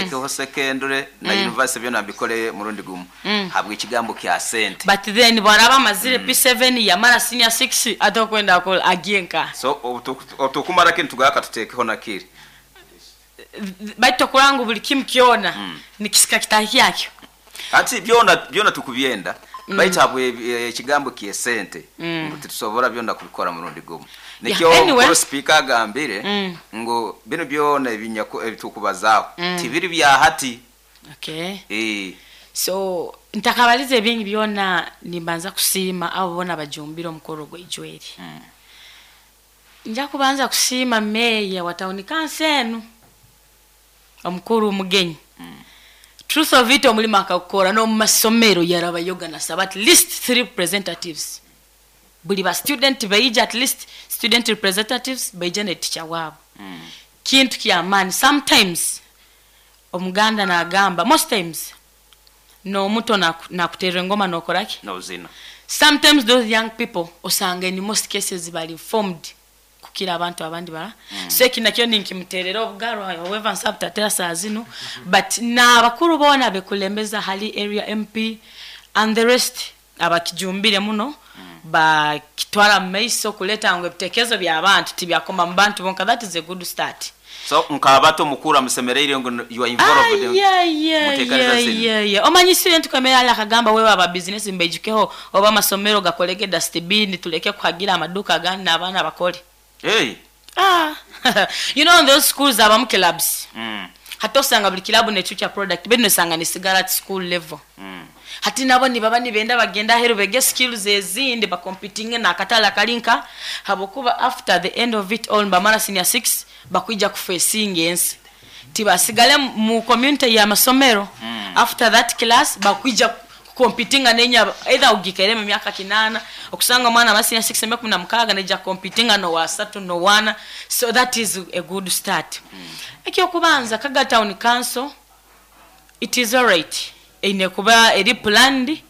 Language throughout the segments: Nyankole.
Ntekeho secondary na university, byona mbikole murundi gumu habw'ekigambo kya sente. But then bwaraba amazire P7, yamara senior 6, ate okwenda akora agiye nkaha? So obu tukumara kinu, tugaka tutekeho na kiri. Baitu okurora ngu buli kimu kyona nikisika kitahi kyakyo. Ati byona byona tukubyenda, baitu habwe ekigambo ky'esente ngu titusobora byona kubikora murundi gumu. Nikyo Anyway. Mukuru Sipiika agambire ngu binu byona ebitukubazaaho tibiri bya hati. So ntakabalize ebingi byona, nimbanza kusiima abo boona bajumbire omukoro gw'eijweri. Nja kubanza kusiima meeya wa town council enu, omukuru Mugenyi. Truth of it, omulimo akagukora n'omu masomero yarabayoga nasaba at least three representatives, buli ba student baija, at least student representatives baija ne teacher waabo. Kintu ky'amaani. Sometimes Omuganda nagamba, most times n'omuto nakuterera engoma nokora ki? Nozina. Sometimes those young people osanga in most cases bali informed kukira abantu abandi bara. So eki nakyo ninkimuterera obugaro, however nsobola butatera saa zinu, but n'abakuru boona abekulembeza hali area MP and the rest abakijumbire muno, bakitwara mu maiso kuleta ngu ebitekerezo by'abantu tibyakoma mu bantu bonka. That is a good start. So nk'abato mukuru amusemereire ngu you are involved muteekaniriza zinu. Ayayayaya, omanyi student kwemera ali akagamba wewe aba business mbaijukeho, oba amasomero gakolege dustbin, tuleke kuhagira amaduka agandi n'abaana bakole. Hey. Ah, in those schools abamu clubs. Hati osanga buli club necuca product, bino osanga nisigara at school level. Hati nabo nibaba nibenda bagenda aheru bege skills ezindi, bacompetinge n'akatale akalinka, habwokuba after the end of it all bamara senior 6, bakwija kufacinga ensi, tibasigale mu community y'amasomero. After that class bakwija competinga nenya either ugikaire mu myaka 8, okusanga omwana wa senior 6 emyaka 16 neja competinga no wa satu no wana. So that is a good start. Ekyokubanza, Kaga Town Council, it is alright, eine kuba eri planned,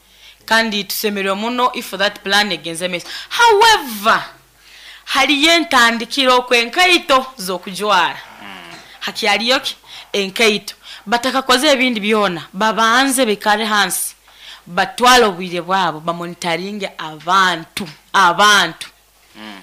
kandi tusemererwe muno if that plan egenze maiso. However, haliyo entandikiro okwenkaito z'okujwara, hakyaliyo ki enkaito. Batakakoze ebindi byona, babanze bikare hansi, batwale obwire bwabo, bamonitoringe abantu,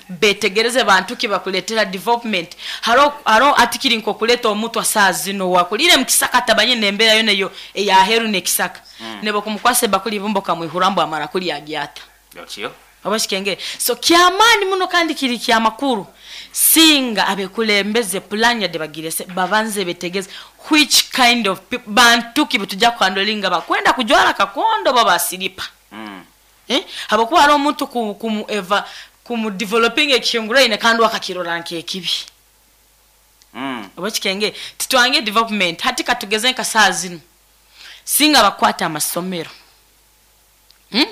betegereze bantu ki bakuletera development. Haro atikiri nkokuleta omutwa saa zino wakulire mukisaka, tabanye nembeera yo neyo eyaheru nekisaka, nebo kumukwasa bakuli bumbo kamwihura mbu amara kulya agyata. Okyo. Oba kikengere. So kyamaani muno kandi kiri kyamakuru singa abekulembeze plan yadde bagirese, babanze betegeze which kind of people, bantu ki betujja kuhandlinga, bakwenda kujwara kakondo babasiripa. Eh? Habwokuba hariho omuntu kumu eva kumu developing ekihinguraine kandi wakakirora nk'ekibi. Oba kikenge titwange development. Hati katugeze nka saa zino singa bakwata amasomero,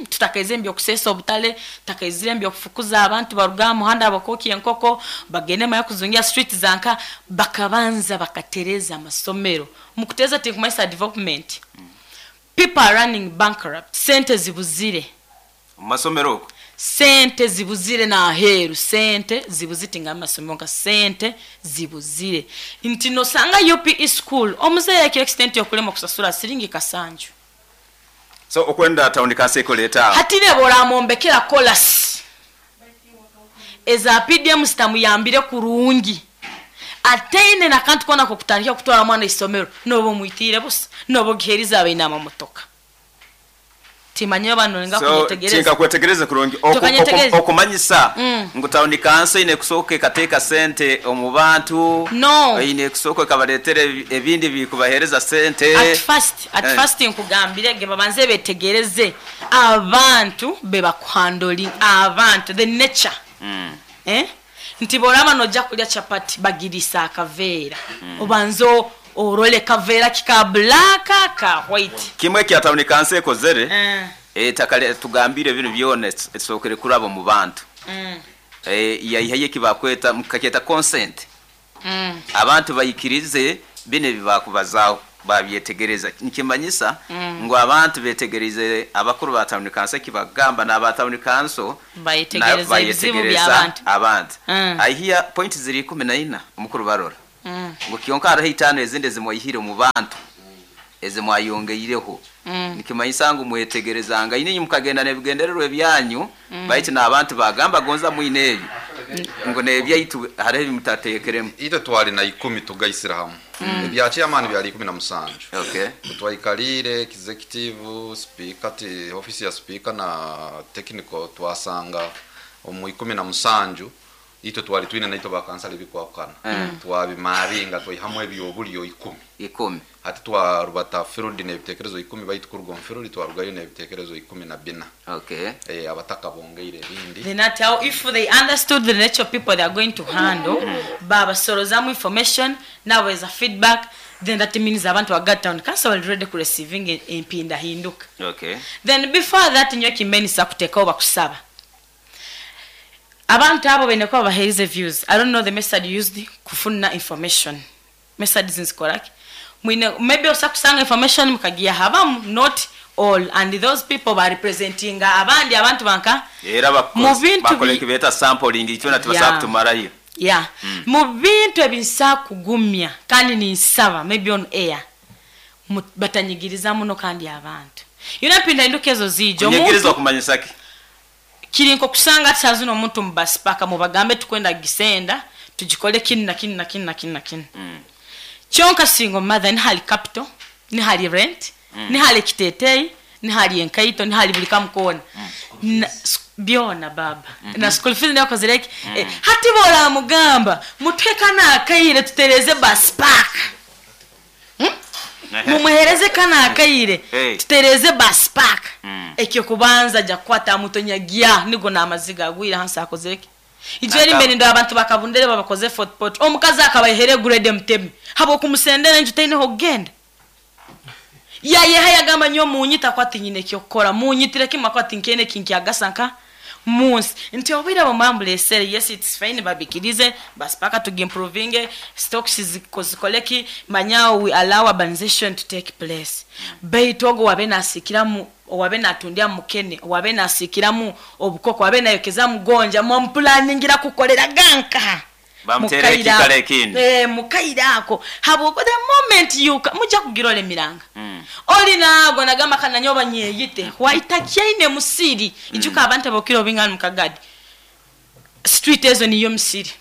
Tutakaize ebyokusesa obutale, tutakaizire ebyokufukuza abantu baruga aha muhanda bakokya enkoko bagende maya kuzungira street zanka, bakabanza bakatereza amasomero. Mukuteza tinkumanyisa development. People are running bankrupt, sente zibuzire. Mu masomero okwo. Sente zibuzire n'aheeru, sente zibuzire, tinga amasomero nka sente zibuzire nti nosanga UPE school omuzeeyi ekiro extent yokulema okusasura siringi kasanju. So okwenda town council ekoleta aho. Hati reba oramombekera kolasi eza PDM zitamuyambire kurungi, ataine nakantu kona kokutandika kutwara mwana isomero, noba omwitiire busa, noba ogiherize abaine amamotoka. Timanye oba norenga So kunyetegereza. Tinka kwetegereza kurungi. Tokanyetegereza. Okumanyisa ngu town council ine kusooka ekateeka sente omu bantu. No. Ine kusooka ekabareetera ebindi bikubaheereza sente. At first nkugambire ge babanze betegereze abantu bebakuhandling, abantu, the nature. Eh? Nti boraba nojja kulya chapati bagirisa akaveera, obanze orole kaveera kika black ka white. Kimwe kya town council ekozere, ettaka tugambire binu byona esookere kuraba mu bantu. Yaihayo ekibakweta mukakyeta consent. Abantu bayikirize bino ebibakubazaaho, babyetegereza. Nikimanyisa ngu abantu betegerize abakuru ba town council ekibagamba, n'aba town council Bayetegereza ebizibu bayetegereza by'abantu. Abantu. I hear point ziri 14 omukuru barora ngu kyonka hariho 5 ezindi ezimwaihire omu bantu. Ezi mwayongeireho nikimanyisa ngu mwetegerezangaine inywe mukagenda n'ebigendererwa ebyanyu, baitu n'abantu bagamba gonza mwine ebi ngu n'ebyaitu hariho ebi mutateekeremu. Itwe twali na ikumi tugaisire hamu. Ebya chairman byali 17. Twaikaliire executive, speaker, ti office ya speaker na technical, twasanga omu 17 itwe twali twine naitwe bakansala ebikwahukana. Twabimaringa twaihamu ebyobulyo 10. 10. Hati twarubata field n'ebitekerezo 10, baitu kuruga omu field twarugayo n'ebitekerezo 14. Abataka bongeire ebindi. Then at how if they understood the nature of people they are going to handle, babasorozamu information, nabaweza feedback, then that means abantu ba Kagadi Town Council bali ready ku receiving empindahinduka. Then before that, nyowe kimbenisa kuteekaho bakusaba. Abantu abo baine kuba babaheerize views. I don't know the method used kufuna information. Methods nzikoraki? Mwine maybe osobola kusanga information mukagiha abamu, not all, and those people ba representinga abandi abantu banka Era mu bintu bakora ekibeeta sampling, itwena tibasobola kutumarayo. Yeah. Mu bintu ebinsa kugumya kandi ninsaba maybe on air batanyigiriza muno kandi abantu. Yona mpindahinduka ezo ziija. Kunyigiriza Omuntu okumanyisa ki? Kiri nkokusanga ati sazino omuntu mu bus park mubagambe tukwenda gisenda tugikole kinu na kinu na kinu na kinu na kinu. Kyonka single mother nihali capital, nihali rent, nihali kiteteyi, nihali enkaito, nihali buli kamukona. Na, byona baba. Na school fees niyo kozireki. Hati bora mugamba mutwe kana akaire tutereze bus park. Mumuhereze kana akaire tutereze bus park. Ekyo kubanza ja kwata mutonyagia nigo namaziga agwira hansi akozireki. Ijeri mbere ndo abantu bakabundere babakoze Fort Portal. Omukazi akabahere grade mutemi. Habo kumusendera nju taine ho genda. Ya ye haya gamba nyo munyita kwati nyine kyo kora munyitire kimwe kwati nkene kinki agasanka munsi. Nti obira bo mambule sere, yes it's fine babikirize basi paka to improving stocks zikoleki manyao we allow urbanization to take place. Baitu ogo wabe nasikiramu wabe natundia mukene wabe nasikiramu obukoko wabe nayokeza mugonja mu planningira kukolera ganka. Bamutere Mukaira ekikala ekindi. Mukaira ako. Habo the moment you muja kugirole miranga. Oli nago nagamba kana nyoba nyeyite. Waitakiaine musiri. Ijuka abantu abokiro bingana mukagadi. Street ezo niyo musiri.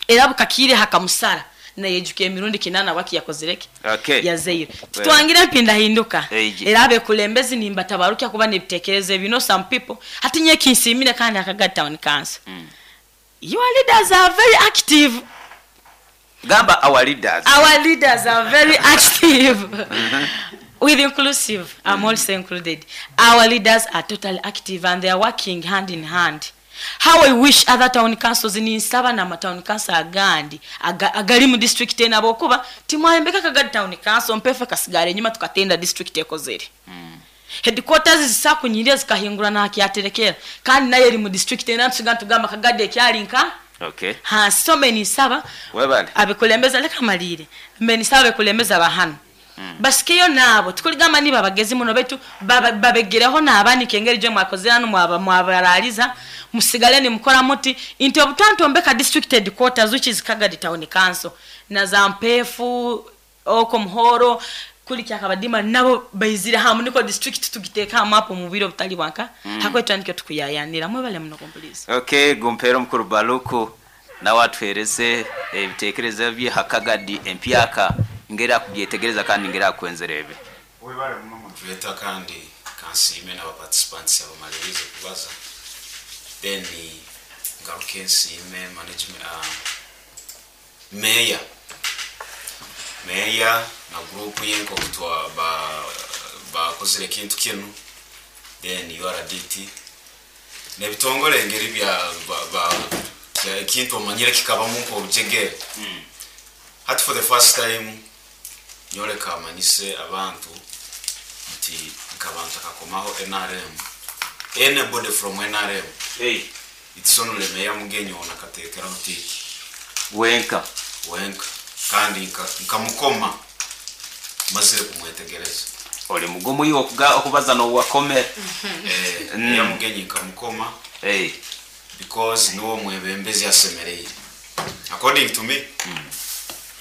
Era bukakire hakamusara. Na yejuke emirundi kinana waki yakozereke. Yazeire. Tutwangira mpinda hinduka. Era abekulembezi nimba tabarukia kuba nebitekerezo ebino some people. Hati nye kinsimire kandi akagadi town council. Your leaders are very active. Gamba our leaders. Our leaders are very active. With inclusive, I'm also included. Our leaders are totally active and they are working hand in hand. How I wish other town councils in Nsaba na town council agandi agali mu district ena bokuba timwayembeka Kagadi town council mpefe kasigare nyuma tukatenda district ekozere. Headquarters zisakunyiria zikahingura na akiaterekera kandi naye eri mu district ena tusiga tugamba Kagadi ekyali nka. Ha, so many saba. Webale. Abekulembeza leka malire. Many saba abekulembeza bahano. Basikeyo nabo tukuligamba ni babagezi muno betu babegereho nabani kengeri je mwakozera no mwabaraliza musigale ni mukora muti inti obutantu ombeka district headquarters which is Kagadi town council na zampefu oko muhoro kuli kyakabadima nabo baizira hamu niko district tugiteka mapo mu biro butali bwanka. Hakwetu andike tukuyayanira mwebale muno kompulisi. Gumpero mukuru Baluku na watwereze ebitekerezo bye Hakagadi empyaka ngera kubyetegereza kandi ngera kwenzerebe. Webale muno mutuleta kandi kansime na participants abamalirize kubaza. Then ngaruke nsime management, mayor. Mayor na group yenko kutwa bakozire kintu kinu. Then URDT nebitongole ngeri bya ba kintu omanyire kikaba munko obujegere. Hati for the first time nyoreka amanyise abantu nti nkabantu akakomaho NRM. Anybody from NRM. Hey. It's only meya mugenyi ona katekera mutiki. Wenka. Wenka. Kandi nkamukoma mazire kumwetegereza. Ole mugumu iwo okubaza no wakome. Meya mugenyi nkamukoma. Hey. Because niwo mwebembezi asemereye. According to me.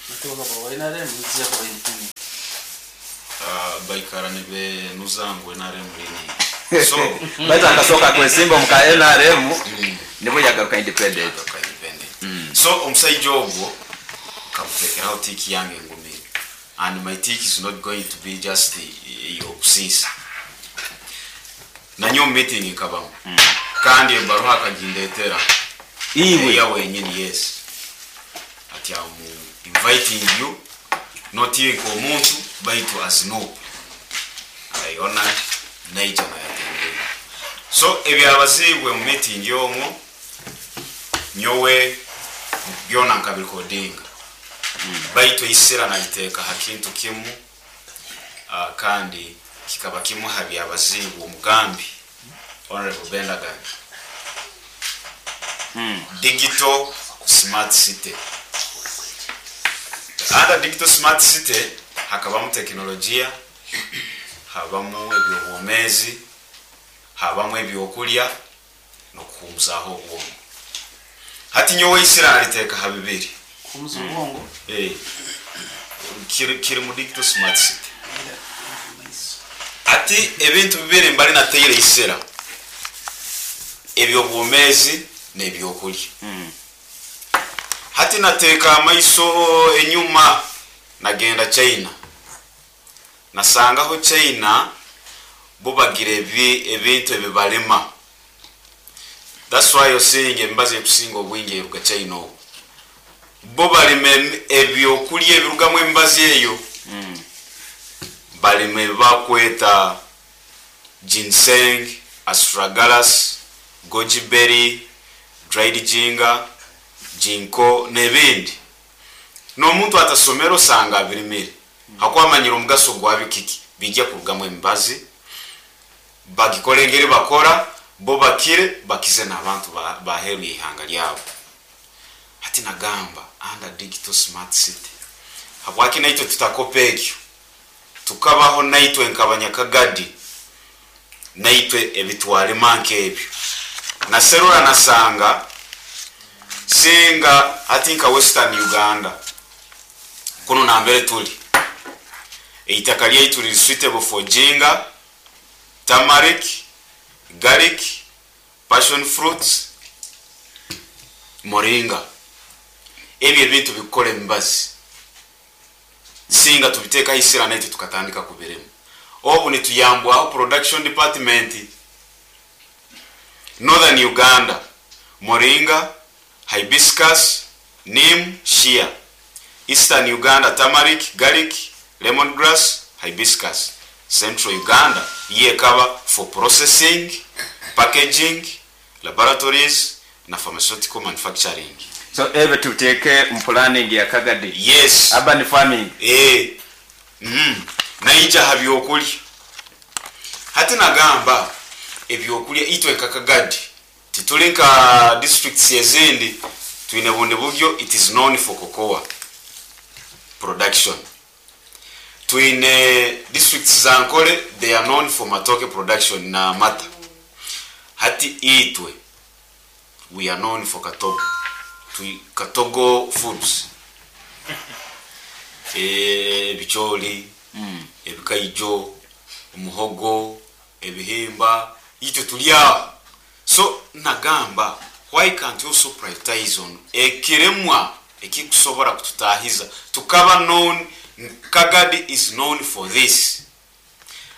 Kutoka kwa NRM, nzia kwa independent. Baikara nibenuza ngu NRM leaning. So Baitu akasooka kwesimba omu ka NRM nibwo yagaruka independent. Yagaruka independent. So omusaija ogwo nkamutekeraho tick yange engumire and my tick is not going to be just ey'okusiisa. Nanyowe omu meeting nkabamu kandi ebaruha akagindetera. Iwe? Eya wenyini, yes. Ati am inviting you not iwe nk'omuntu baitu as NUP. I honored naija nayatendinga. So ebyabaziibwe mu meeting omwo nyowe byona nkabirekodinga baitu eisira naliteeka ha kintu kimu kandi kikaba kimu ha byabaziibwe omugambi Honourable Bendaganya, Digital Smart City. Under Digital Smart City hakabamu tekinologiya, habamu eby'obwomeezi, habamu ebyokulya n'okuhuumuzaaho obwongo. Hati nyowe eisira naliteeka ha bibiri. Kuhuumuza obwongo? Ee, kiri mu Digital Smart City. Hati ebintu bibiri mbali nataire eisira, eby'obwomeezi n'ebyokulya. Hati nateeka amaiso enyuma nagenda China, nasangaho China bo bagira ebintu ebi balima. That's why you're seeing emibazi erikusinga obwingi eruga China okwo. Bo balima ebyokulya ebirugamu emibazi eyo. Balima ebi bakweta ginseng, astragalus, goji berry, dried ginger, ginkgo n'ebindi. N'omuntu atasomere osanga abirimire ahakuba amanyire omugaso gwabyo kiki, biija kurugamu emibazi, bagikore engeri bakora, bo bakire bakize n'abantu b'aheeru y'eihanga ryabo. Hati nagamba under digital smart city habwaki naitwe tutakopa ekyo tukabaho naitwe nk'abanyakagadi naitwe ebitwarima nk'ebyo. Naserura nasanga singa hati nka Western Uganda kunu nambere turi eitaka ryaitu riri suitable for ginger, turmeric, garlic, passion fruits, moringa. Ebyo ebintu bikukora emibazi. Singa tubiteekaho eisira naitwe tukatandika kubirima. Obu nituyambwaho production department. Northern Uganda, moringa, hibiscus, neem, shea. Eastern Uganda, turmeric, garlic, lemon grass, hibiscus. Central Uganda yo ekaba for processing, packaging, laboratories na pharmaceutical manufacturing. So ebyo tubiteeke omu planning ya Kagadi Yes. Urban farming. Eeh. Uhmm. Naija aha byokulya. Hati nagamba ebyokulya itwe nka Kagadi tituri nka districts ezindi twine bundi buryo it is known for cocoa production. Twine districts za Ankole they are known for matooke production na amata. Hati itwe we are known for katogo, katogo foods, ebicoori, ebikaijo, omuhogo, ebihimba, itwe turi aho. So nagamba why can't we also prioritize on ekiremwa ekirikusobora kututahiza tukaba known Kagadi is known for this.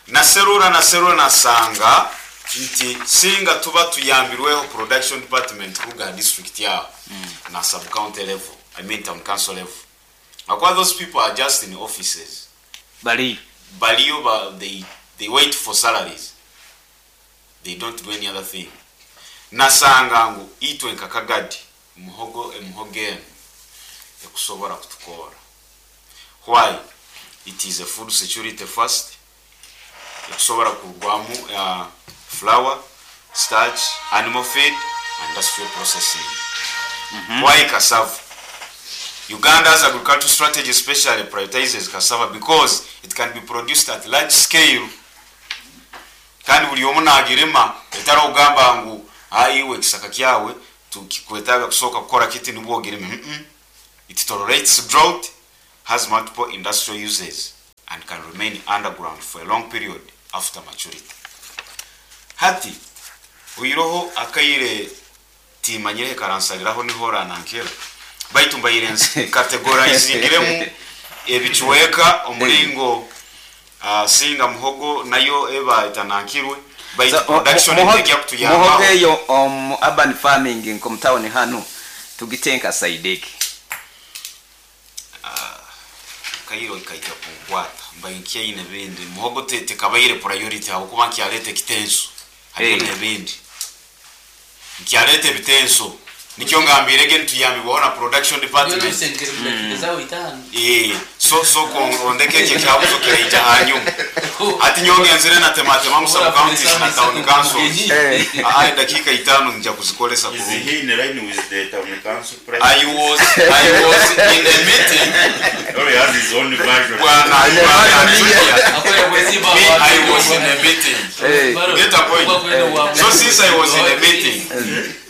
Naserura naserura nasanga nti singa tuba tuyambirweho production department kuruga aha district aho na sub county level, I mean town council level ahakuba those people are just in offices. Bariyo. Bariyo ba they they wait for salaries they don't do any other thing. Nasanga ngu itwe nka Kagadi muhogo emihogo enu ekusobora kutukoora. Why? It is a food security first, ekusobora kurugwamu flour, starch, animal feed and industrial processing. Why cassava? Uganda's agricultural strategy especially prioritizes cassava because it can be produced at large scale kandi buri omwe nagirima etari okugamba ngu iwe ekisaka kyawe tukikwetaaga kusooka kukora kiti nibwo ogirime. It tolerates drought, has multiple industrial uses. and can remain underground for a long period after maturity. Hati oiroho akaire timanyire karansariraho niho oranankera baitu mbaire ncategorizingiremu ebicweka omuringo singa muhogo nayo eba etanankirwe baitu So, production muhogo ejya kutuyambaho. Muhogo eyo omu urban farming nko mutawuni hanu tugitenka saideki. Kairo ikaija kunkwata mbaye nkyaine bindi muhogo tekabaire priority habwokuba nkyaleta ekitenso hariyo n'ebindi nkyaleta ebitenso nikyo ngambirege nituyambibwaho na production department. So so ondeke ekyo ekyabuzo kiraija hanyuma ati nyongenzire natematema mu sub counties na town councils. Aye, dakika 5 nja kuzikolesa Is kurungi. he in line with the town council president? I was in a meeting. Or he has his own version? Bwana bwana Junior, me, I was in a meeting. You get a point? So since I was in a meeting,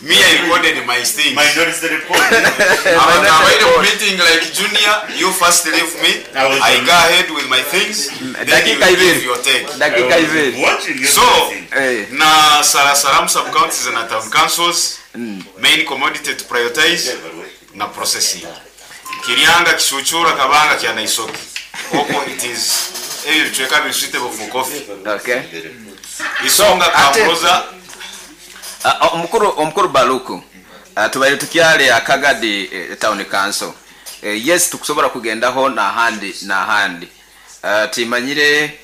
me, I recorded my things. Minority report. Abaire mu meeting like Junior, you first leave me. I was I go ahead with my things, then you Dakika give ibiri. your take. Dakika I was ibiri. watching So everything. Na sarasaramu sub counties na town councils, main commodity to prioritize na processing. Kiryanga, Kishuchura, Kabanga, Kyanaisoki oko it is ebyo bicweka biri suitable for coffee. Isonga Kamroza. Omukuru Baluku, tubaire tukyale akagadi town council. Yes, tukusobola kugendaho nahandi nahandi. Timanyire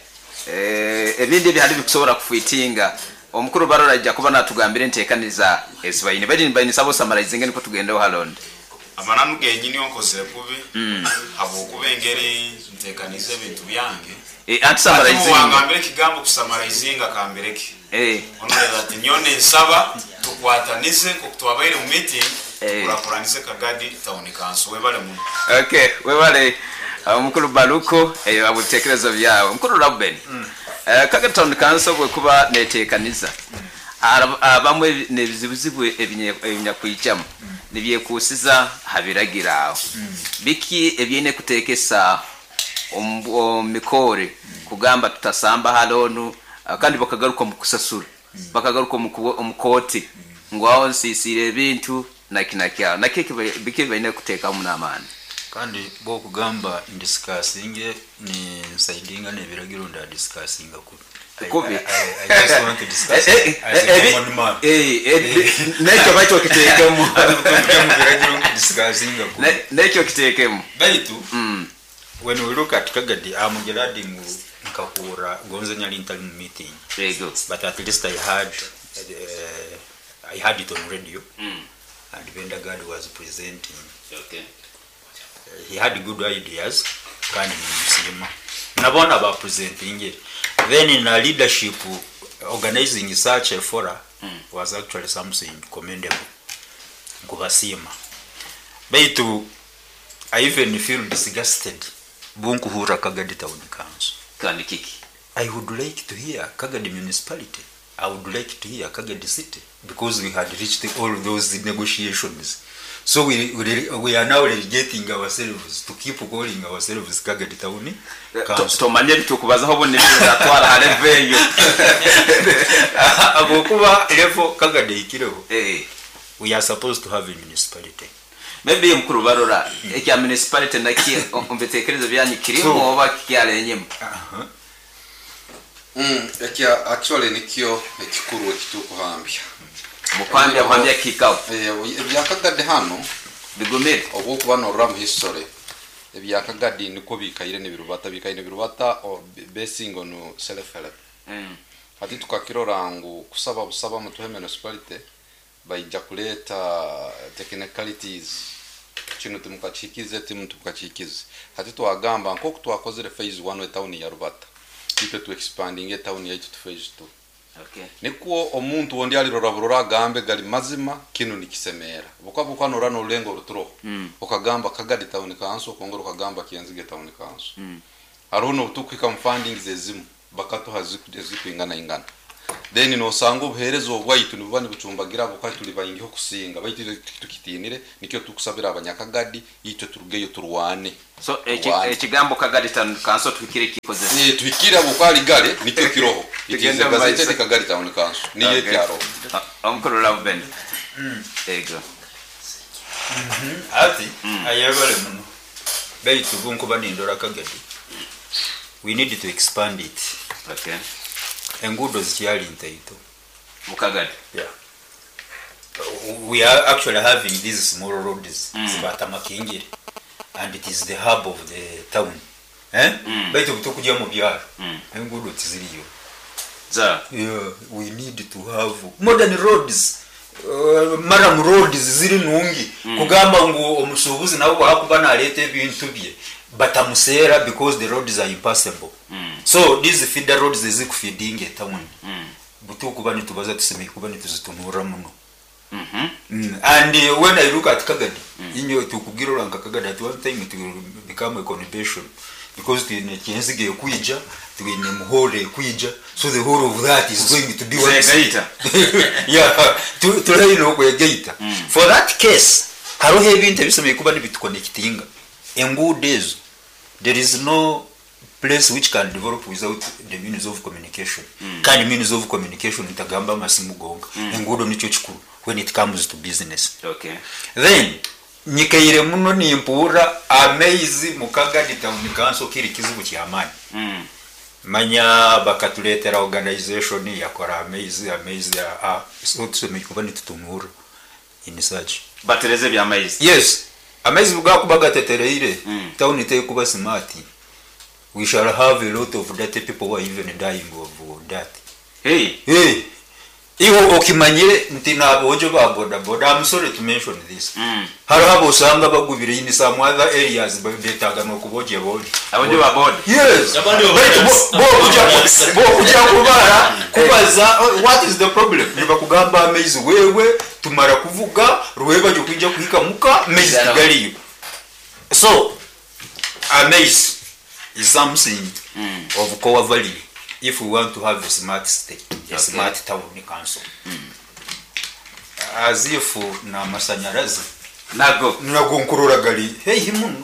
ebindi ebihali bikusobola kufitinga omukuru Barora ajja kuba natugambira enteekaniza esibaine bali baine sabo summarizinge niko tugendeho halonde. Amananu genyini onkozere kubi habwokuba engeri ntekaniza ebintu byange. Anti Ati summarizinga. muwangambire ekigambo kusummarizinga kambireke. Onorera ati nyone nsaba tukwatanize nkoku twabaire mu meeting, tukurakuranize Kagadi Town Council. Webale muno. Okay, webale omukuru Baluku eyo abitekerezo byawe. Omukuru Ruben, Kagadi Town Council bwekuba neteekaniza abamwe nebizibuzibu ebinyakwijamu nibyekusiza habiragira aho biki ebyine kutekesa omu mikore kugamba tutasamba halonu, kandi bakagaruka mu kusasura, bakagaruka omu kooti ngu aho nsisiire ebintu nakinakyaho nakyo biki baine kuteekamu n'amaani. Kandi bwokugamba ndisikasinge ni nsaidinga n'ebiragiro ndadisikasinga kubi. Kubi. I just want to discuss as a common man. Nekyo bakyo kiteekemu. Mu biragiro disikasinga kubi. Nekyo kiteekemu. Baitu when we look at Kagadi, I'm glad ngu nkahura gonze nyali ntali mu meeting. Yego. But at least I had it on radio. And Benda Gad was presenting. He had good ideas kandi nimusima nabona ba presenting. Then in a leadership, organizing such a forum was actually something commendable, nkubasima. Baitu I even feel disgusted bunkuhura Kagadi Town Council. Kandi kiki? I would like to hear Kagadi municipality. I would like to hear Kagadi city, because we had reached all those negotiations. So we are now relegating ourselves to keep calling ourselves Kagadi Town Council. Tomanye bitukubazaho bundi bizatwara haleveyo. Abokuba level Kagadi ikireho. We are supposed to have a municipality. Maybe mukuru Barora ekya municipality naki ombitekerezo byanyu kirimo oba kyarenyemo. Ekya actually nikyo ekikuru ekitukuhambya. Mukwambya kwambya kikao. Ebyakagadi hano bigumire obwokuba norora mu history ebyakagadi niko bikaire n'ebirubata bikaire n'ebirubata basing on self help. Hati tukakirora ngu kusaba busaba mutuhe municipality baija kuleta technicalities kino timukakikize timu timukakikize. Hati twagamba nkoku twakozere phase 1 etown ya Rubata itwe tu expanding etown yaitu tu phase 2. Nikwo omuntu wondi alirora burora agambe gali mazima kino nikisemera buka nora norulengo ruturo. Okagamba Kagadi Town Council okongera okagamba Kienzige Town Council. Hariho nobutukwika mu fundings ezimu bakatuha ezikwingana ingana. Then nosanga obuheereza obwaitu nibuba nibucumbagira ahabw'okuba turi baingiho kusinga baitu itwe titukitiinire nikyo tukusabira abanyakagadi itwe turugeyo turwane. So Turwane. ekigambo Kagadi Town Council tuhikire kikozesa. Eh, tuhikire ahabw'okuba ari gare nikyo kiroho. It is Tugende a mu maiso. gazetted Kagadi Town Council niyo Okay. ekyaroho. Omukuru Lauben. Ego. Ati ayebale muno baitu bunkuba nindora Kagadi we need to expand it. Okay. Enguudo zikyali ntaito. Mukagadi. Yeah. We are actually having these small roads zibatamakingira and it is the hub of the town. Eh? Baitu butukujya mu byaro enguudo tiziriyo. Za. Yeah, we need to have modern roads. Maram roads ziri nungi kugamba ngu omusuubuzi nawe bwakuba naleeta ebintu bye batamuseera because the roads are impassable. So these feeder roads ezikufeedinga etown butukuba nitubaza tusemeye kuba nituzitunura muno. And when I look at Kagadi, inyo tukubwira oranka Kagadi at one time it will become a conurbation because twine Kyenzige ekwija, twine Muhore ekwija, so the whole of that is going to be one city. Zegaita. Yeah, turaine okwegaita. For that case, hariho ebintu ebisemeye kuba nibituconnectinga. Enguudo ezo, there is no place which can develop without the means of communication. Kandi means of communication ntagamba amasimu gonka. Enguudo nikyo kikuru when it comes to business. Okay. Then nyikaire muno nimpuura amaizi mu Kagadi Town Council kiri kizibu kyamaani. Manya bakatuleetera organization yakora amaizi amaizi so tusemeye kuba nitutunura in such. Batereze by'amaizi. Yes, amaizi bwakuba gatetereire town tekuba smart. We shall have a lot of dirty people who are even dying of that. Hey. Hey, iwe okimanyire nti nabojo ba boda boda, I'm sorry to mention this. Hariho abosanga bagubire in some other areas betaga nokuboje boje. Abojo ba boda. Yes. Abandi bo Baitu boda. bo kuja kubara kubaza, oh, what is the problem? Nibakugamba amaizi wewe tumara kuvuga rweba jo kwija kuhika muka amaizi tigaliyo. So amaizi is something of core value if we want to have a smart state, a smart town council. As if na masanyarazi Nago. nago nkurora gari heihi muno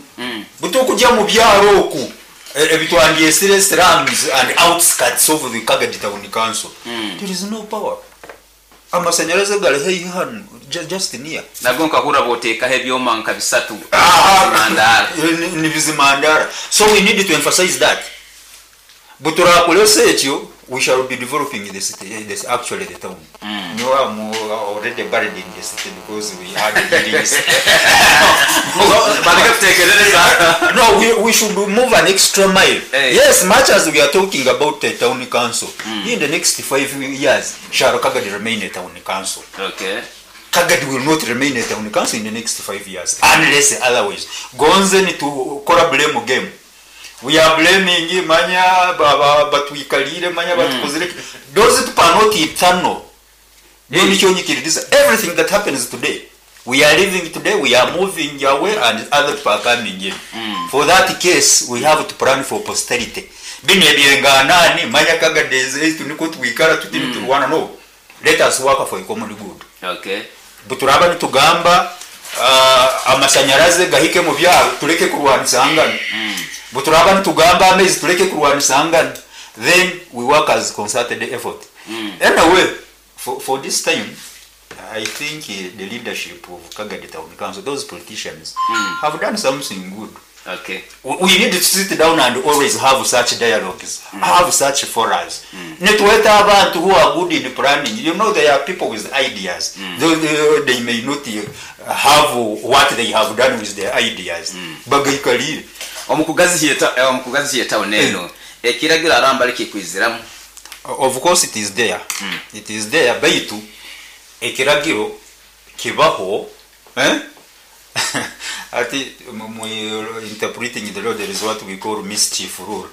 butukujya mu byaro oku ebitwandyesire slums and outskirts of the Kagadi Town Council, there is no power. Amasanyarazi gari heihi hano just near. Nago nkahura botekaho ebyoma nka bisatu. Ah, Mandara. ni bizimandara. So we need to emphasize that buturakolesa ekyo we shall be developing the city, this actually the town. No, I'm already buried in the city because we had buildings. Bareke kutekerereza. No, we should move an extra mile. Hey. Yes, much as we are talking about the town council, in the next 5 years, shall Kagadi remain a town council? Okay. Kagadi will not remain a town council in the next 5 years, unless otherwise. Gonze ni to kora blame game. We are blaming manya baba batwikalire manya batukozire. Those people are not eternal. Hey. Everything that happens today, we are living today, we are moving away, and other people are coming in. For that case, we have to plan for posterity. Bino ebyenganani manya Kagadi tuniko twikara tutini turwana no. Let us work for a common good. Okay. Buturaba nitugamba amasanyarazi gahike mu byaro tureke kurwanisangana. Buturaba nitugamba amaizi tureke kurwanisangana. Then we work as concerted effort. Anyway, for this time, I think the leadership of Kagadi Town Council, those politicians, have done something good. Okay. We need to sit down and always have such dialogues, have such forums. Nitweta abantu who are good in planning. You know, there are people with ideas. Though they may not have what they have done with their ideas. Bagaikalire. Omukugazi town eno ekiragira aramba likikwiziramu. Of course it is there. It is there. Baitu ekiragiro kibaho, eh? Ati interpreting the law, there is what we call mischief rule.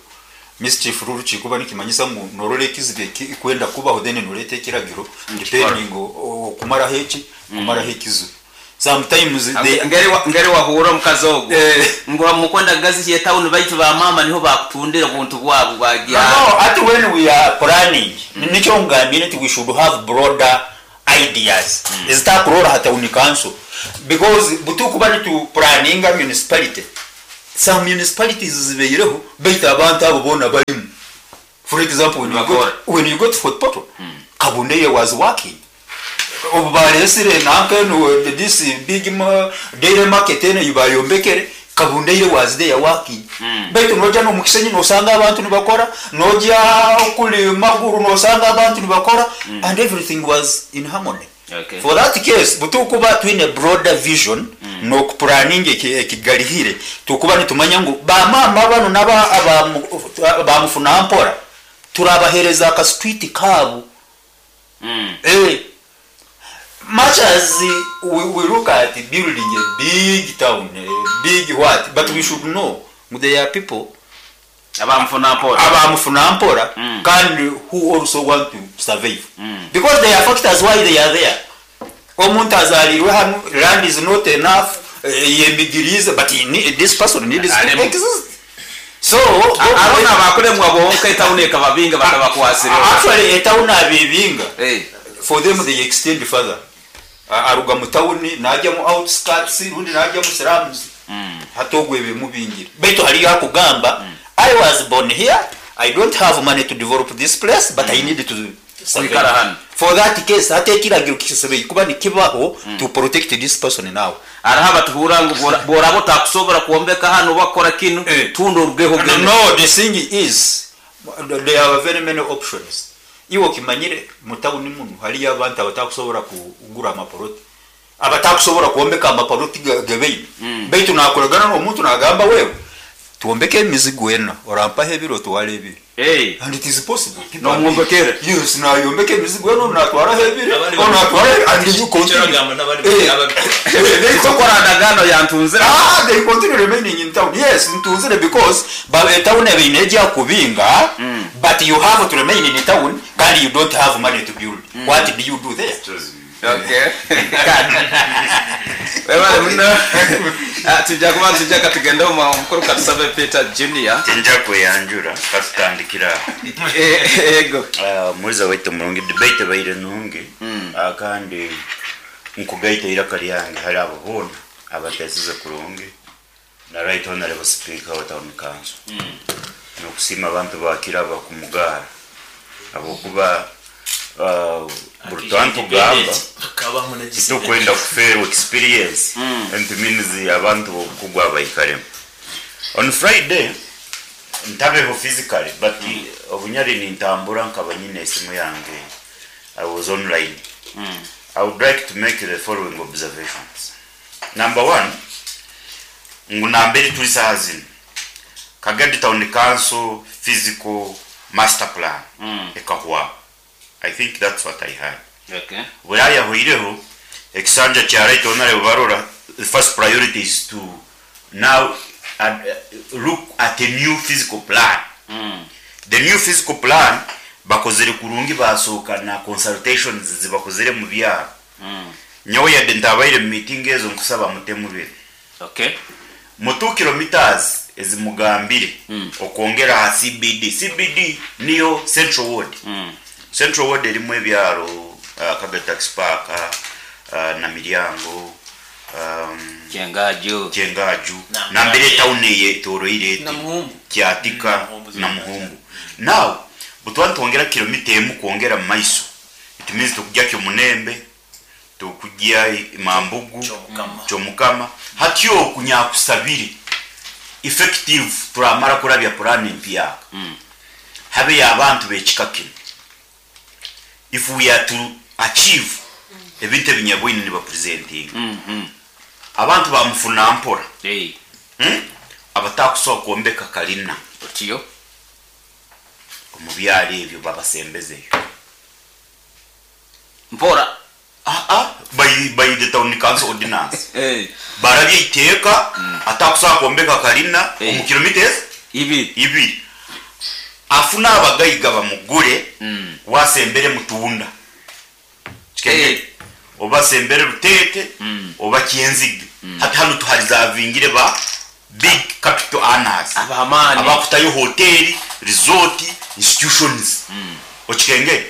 Mischief rule kikuba nikimanyisa ngu norora ekizibu kwenda kubaho, then noreta ekiragiro depending kumaraho eki, kumaraho ekizibu. Sometimes they Ngeri wahurra omukazi ogu Eh. ngu mukwenda kugazihya etawuni baitu ba maama niho bakutundira obuntu bwabo bwagya. No, ati when we are planning, nikyo ngambire nti we should have broader ideas ezitakurora ha town council, because butukuba nitu planninga municipality, some municipalities zibeireho baitu abantu abo boona barimu. For example, when you go Nibakora. When you go to Fort Portal, Kabundeye was working. Obu baresire nanka eno, this big dairy market eno bayombekere, Kabundeire was there working. Baitu noja nomukisenyi nosanga abantu nibakora, noja kuli Maguru nosanga abantu nibakora, and everything was in harmony. For that case, butukuba twine broader vision nokuplanning ekigarihire, tukuba nitumanya ngu bamama bano naba abamufuna mpora turabahereza aka street kabo. Much as we look at building a big town, a big what, but we should know there are people Abamufuna mpora. Abamufuna mpora kandi who also want to survive, because there are factors why they are there. Omuntu azalirwe hano, land is not enough, yemigirize, but this person needs to Alemu. exist. So Arona abakuremwa bonka etawuni ekababinga batabakwasire. Actually, etawuni abibinga, for them they extend further. Aruga mu tawuni najya mu outskirts, rundi najya mu slums, hatogwe bimubingira. Baitu hariyo akugamba, I was born here, I don't have money to develop this place, but I need to survive. Kwikara hano. For that case, hata ekiragiro kisebeye kuba nikibaho to protect this person now. Araho abatuhura ngu boraba otakusobora kwombeka hano bakora kinu, tunda orugeho No, gende. no, the thing is there are very many options. Iwe okimanyire mu tawuni muno hariyo abantu abatakusobora kugura amaporoti, abatakusobora kwombeka amaporoti gebeine, baitu nakoragana n'omuntu nagamba, wewe twombeke emizigo ena, orampaho ebiro twara ebiri. And it is possible. Nomwombekere. Yes, nayombeka emizigo eno, natwaraho ebiri, Abandi onatwara, and you continue. Icyo n'abandi They Tokora ndagano yantunzira. Ah, they continue remaining in town. Yes, ntunzire, because ba town ebeine ejya kubinga, but you have to remain in town kandi you don't have money to build. What do you do there? Okay. Webale muno. Ah, tujja kuba tujja katugende omu mukuru katusabe Peter Junior. Tinja kweyanjura, katutandikira aho. Ego. Ah, muriza waitu murungi, debate ebaire nungi. Ah, kandi nkugaita iraka ryange hari abo boona abatesize kurungi na Right Honorable Speaker wa Town Council, nokusiima abantu bakiraba kumugara abokuba buri twantugamba Bakabamu na titukwenda kuferwa experience, and it means abantu bokugwa baikaremu. On Friday ntabeho physically, but obunyari nintambura nkaba nyine esimu yange, I was online. I would like to make the following observations. Number one, ngu nambere turi saha zino, Kagadi Town Council physical master plan ekahwa. I think that's what I heard. Buraya hwireho ekisanja kya Right Honorable Barora, the first priority is to now look at a new physical plan. The new physical plan bakozere kurungi, basohoka na consultations zibakozere mu byaro. Nyowe yadde ntabaire mu meeting ezo, nkusaba mutemubire mu 2 kilometers ezimugambire okwongera ha CBD. CBD niyo Central Ward. Central Ward erimu ebyaro Kagadi Taxi Park, na Miryango, Kyengaju. Kyengaju, Na- nambere town eye etoroire eti Na Muhumbu. Kyatika. Muhumbu. Na Muhumbu. Now butwa twongera kilomita emu kwongera mu maiso, it means tukujja Kyomunembe, tukujja Mambugu, Kyomukama. Kyomukama. Hatyo okunyakusabire effective turamara kurabya plan empyaka, habe abantu bekika kino, if we are to achieve ebintu ebinyabwine nibapresentinga, abantu bamufuna mpora, Abatakusobola kwombeka kalina Otiyo. Omu byalo ebyo babasembezeyo. Mpora. Ah, ah, by the town council ordinance, barabye iteeka, atakusobola kwombeka kalina omu kilometers Ibiri. ibiri, afuna abagayiga bamugule, wasembere mutunda. Oba Sembere Ruteete oba Kyenzige. Hati hanu tuharizavingire ba big capital earners Ab'amaani. abakutayo hoteri, resort, institutions. Okikengere?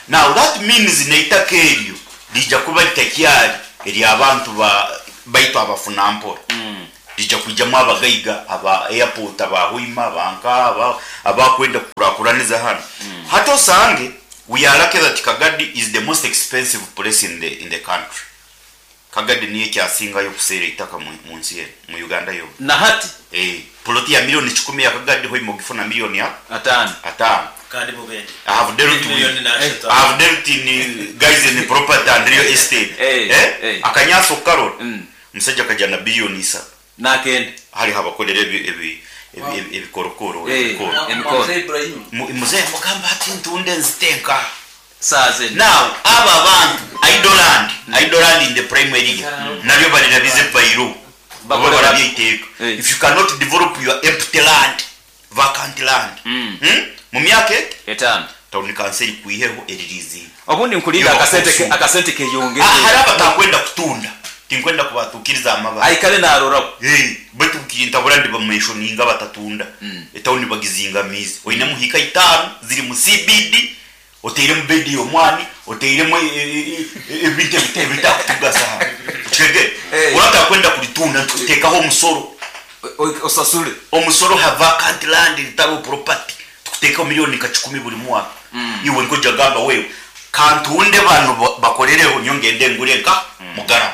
Now that means n'eitaka eryo riija kuba ritakyari ery'abantu ba baitu abafuna mpora. Riija kwijamu abagaiga aba airport, aba Hoima, aba nkaha, aba abakwenda kukurakuraniza hanu. Hati osange We are lucky that Kagadi is the most expensive place in the in the country. Kagadi niyo ekyasingayo okuseera eitaka mu mu nsi eno, mu Uganda yoona. Na hati. Eeh, poloti ya million kikumi ya Kagadi Hoima ogifuna million a Ataano. ataano. Kandi bo bende. I have dealt with Million na ashatu. I have dealt in guys in property and real estate. Eh, Eh? eh. Akanyaatsi okukarora, omushaija akagira na billion isatu. Nakenda. Hariho abakorera ebi ebi ebi ebikorokoro, Eh, ebikoro. emikoro. Muzeeyi amugamba ati ntunde nzite nkaha? Saaha zinu. Now abo abantu idle land, idle land in the prime area naryo barirabize by law oba Bakore barabye bata? eiteeka. Eh. If you cannot develop your empty land, vacant land, mu myaka eti, Etaano. tawuni kanso erikwiheho eririzinga. Obundi nkulinda Iwe akasente ke, bakusuula. akasente keyongere. Ah, hariho abatakwenda kutunda, tinkwenda kubatukiriza amabara. Aikare naroraho. Eh, baitu ntabura ndibamenshoninga abatatunda. Etawuni bagizingamiize. Oinemu hiika itaano ziri mu CBD, oteiremu bedi y'omwani, oteiremu ebintu ebitakutugasa hanu. Okitegeera? Eh. Oraba otakwenda kuritunda nitukuteekaho omusoro. Osasure. Omusoro ha vacant land ritariho property tukuteekaho milioni nka kikumi buri mwaka. Iwe nikwo gamba wewe kantunde banu bakorereho nyowe ngende ngure nka mugarama.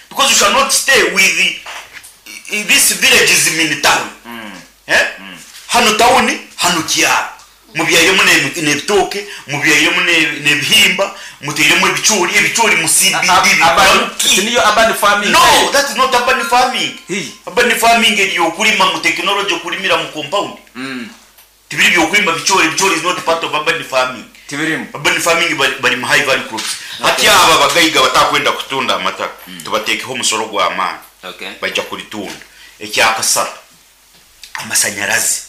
Because you shall not stay with the, this village is in town. Eh? Hanu tawuni, hanu kyaro. Mubyairemu n'ebitooke, mubyairemu n'ebihimba, muteiremu ebicoori, ebicoori mu CBD bikora ki? Niyo urban farming. No, that is not urban farming. Hi. Urban farming eri okurima mu technology okurimira mu compound. Tibiri byokurima bicoori, ebicoori is not part of urban farming. Tibirimu. Urban farming bari, bari mu high value crops. Hati aba abagaiga batakwenda kutunda amataka, tubateekeho omusoro gw'amaani. Okay. Baija kuritunda. Ekyakasatu, amasanyarazi.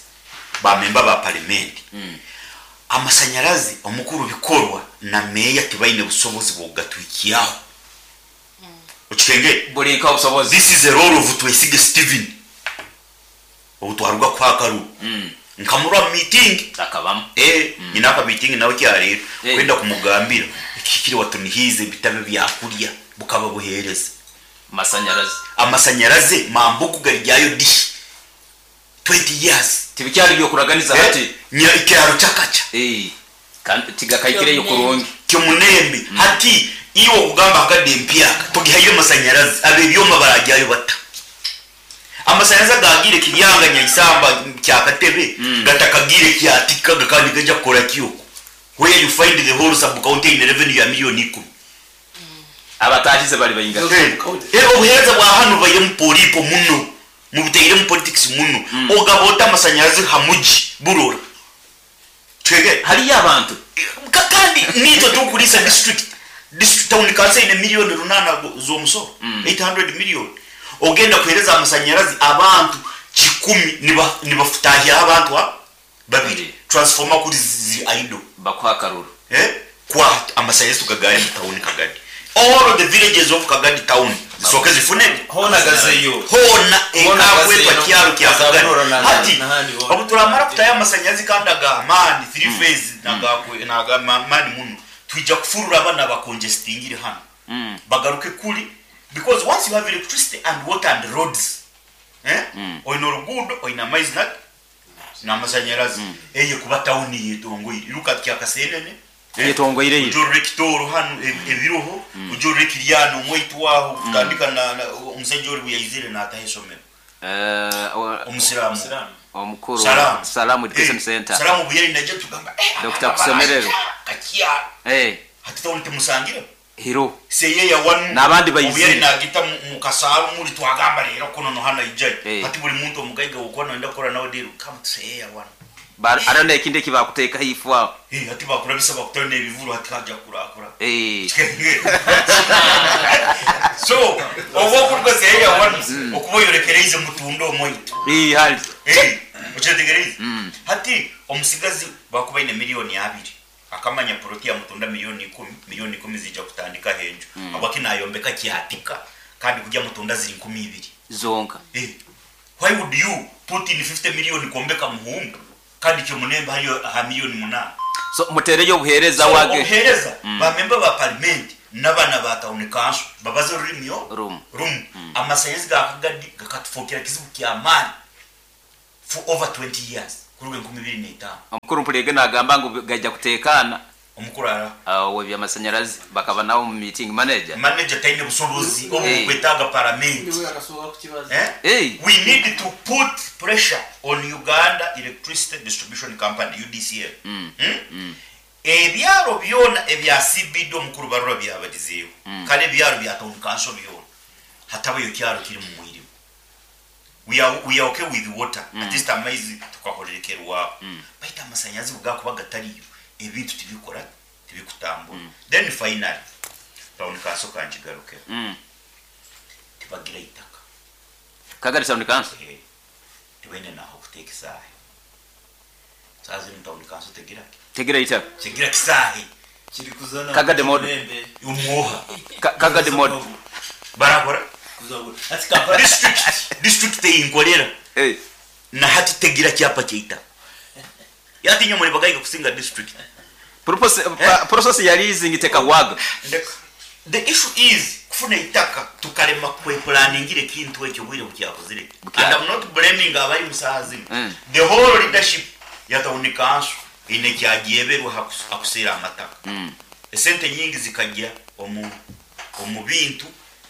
Ba memba ba palimenti. Amasanyarazi omukuru bikorwa na meeya tibaine busobozi bw'okugatwikyaho. Okikengere? Buri nka obusobozi. This is a role of Twesige Steven. Obu twaruga kuha akaruru. Nkamurwa mu meeting. Akabamu. Eh, nyina aka meeting nawe kyarero. Eh. Kwenda kumugambira ekihikire watunihiize bitabe byakurya bukaba buhereza. Masanyarazi. Amasanyarazi mambugu garijyayo dishi. 20 years. Tibikyari byokuraganiza Eh, hati. nya ikyaro kyakaca. Eh. Kandi tigakaikireyo kurungi. Kyomunembe. Hati iwe okugamba akadde empyaka togihaire amasanyarazi abebyoma barajyayo bata. Amasanyarazi agagire Kiryanga Nyaisamba Kyakatebe gatakagire Kyatika kandi gaja kukora kyoko. Where you find the whole sub county in revenue ya milioni ikumi. Abatahize bari bayinga. Eh, obuheereza bwa hanu bubaire mu polipo muno. Mubutaire mu politics muno. Ogaba ota amasanyarazi ha muji burora. Twege Hariyo abantu. Kandi nitwe tukurisa district. District town council ine milioni runana z'omusoro. 800 million. Ogenda kuhereza amasanyarazi abantu kikumi nibafutahira abantu ha babiri. Transformer kuri zi idle. Bakuha akaruru. Kwa amasanyarazi tukagari mu town Kagadi. All of the villages of Kagadi town zisoke zifune. Hona gazeyo. Hona Hona ekakwetwa gazeyo. kyaro kya Kagadi. Zabunora na- Hati, n'ahandi hona. obu turamara kutayo amasanyarazi kandi agamani 3 phase nagamani muno. Twija kufurura abana bakongestingire hano. Bagaruke kuri because once you have electricity and water and roads, Oina oruguudo, oina amaizi n'amasanyarazi. Eye kuba town yetongoire. Iruka Kyakasenene. Yetongoire yo. Ujorore Kitoro hano ebiroho, ujorore Kiryano omwaitu waho, kutandika na omusajja ori bwe nataha isomero. Omusiraamu. Omukuru Salamu. Salamu Education Center. Salamu bwe yari naje tugamba, Dr. Kusemererwa. Kakia. Hati tawuni temusangire. Hiro. Seye ya wanu. N'abandi bayizire. Obu yari nagita mu kasaaru muri twagamba rero kuno no hano ijayo. Hati buri muntu omugaiga okwo nenda kukora nawe deal come to seye ya wanu. Arana ekindi eki bakuteekaho ifu aho. Hati bakurabisa bakutera n'ebivuru hati hajya kurakura. So, obu okuruga seye ya wanu, okuba oyorekereize mutunde omwaitu. Hali. Okyetegereize? Hati omusigazi bakuba aine milioni abiri. Akamanya puroti yamutunda milioni ikumi, milioni ikumi ziija kutandikaho enju. Habwaki nayombeka kyatika kandi kurya mutunda ziri 2000? Zonka. Eh, why would you put in 50 million kwombeka muhumbu kandi kyomunembe hariyo aha milioni munaana? So mutereyo obuhereza So wage. obuhereza ba member ba parimenti nabana ba tawuni kanso babaze orurimi Rumu. Rumu. Amasanyarazi ga Kagadi gakatufokera kizibu kyamaani for over 20 years kuruga 2005. Omukuru Mpulege nagamba ngu gaija kutekana. Omukuru araha? Ow'ebyamasanyarazi bakaba nawe omu meeting manager. Manager taine busobozi obu bukwetaaga paramenti. Niwe akasobola kukibaza. Eh? Hey. We need to put pressure on Uganda Electricity Distribution Company, UDCL. Hmm? Ebyaro byona ebya CBD omukuru Barura byabarizeeho. Kare ebyaro bya town council byona. Hatabayo kyaro kiri mu mwirima. We are, we are okay with water. At least amaizi tukahorerekerwaho. Baitu amasanyazi kugakuba gatariyo, ebintu tibikora, tibikutambura. Then finally, town council kankigarukeho. Tibagira itaka. Kagari town council? Eh. Tibaine naho kuteeka esaaha. Saaha zinu town council tegira ki? Tegira itaka. Tegira kisaahe. Kiri kuzana Kagadi model. Mulembe. Omwoha. Kagadi model. Barakora. Kuzagura. Ati Kampala. District, district eyinkorera. Eh. Na hati tegira kyapa kyeitaka. Yati nyo muri bagaiga kusinga district. Purpose, Eh? process ya leasing tekahwaga. Ndeka. The issue is kufuna itaka tukarema kweplaningire kintu ekyo bwire bukyakozire. Bukya. And I'm not blaming abari musaha zinu. The whole leadership ya town council ine kyagyeberwa hakusera amataka. Esente nyingi zikajya omu bintu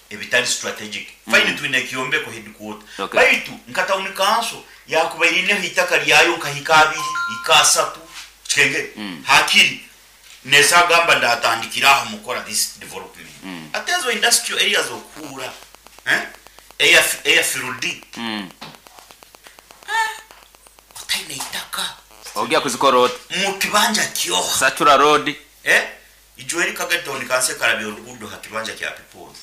ebitari strategic. Fine twine kyombeko headquarter. Baitu nka town council yakubairineho itaka lyayo nkahika abiri, ikasatu, kikenge. Hakiri nesagamba ndatandikira aho mukora this development. Atezo industrial areas okura. Air, air field. Otaine itaka. Ogia kuzikora ot. Mu kibanja kyoha. Satura road. Ijweri Kagadi town council karabye orugudo ha kibanja kya Peoples.